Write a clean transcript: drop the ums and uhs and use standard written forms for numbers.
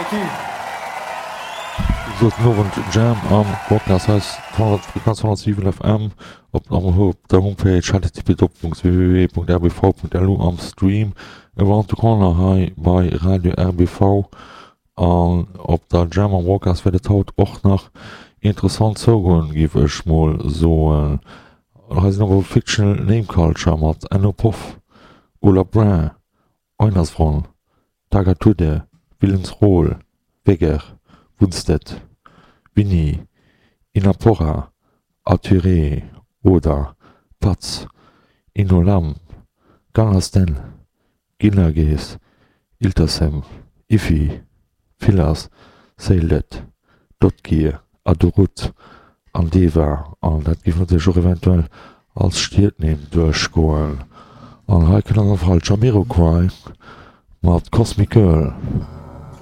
Thank you. Wéi gesot, den Owend Jam am Broadcast hei op Frequenz 107 FM op der Homepage http://www.rbv.lu am Stream around the corner hei bei Radio RBV. An op der Jam am Broadcast wäert et haut och nach interessant zougoen, géif ech mol soen. Hei sinn awer Fictional Name Culture mat Enno Poff, Ola Brun, Einersbronn, Tagatude, Willens Rohl, Weger, Wunstedt, Winnie, Inapora, Aturé, Oder, Patz, Inolam, Ganasden, Ginnergees, Iltersem, Iffy, Fillers, Seylet, Dotgir, Adurut an Deva, an dat géif natierlech och eventuell als Stiednimm duerchgoen. An hei kënnt an alle Fall Jamiroquai mat Cosmic Girl.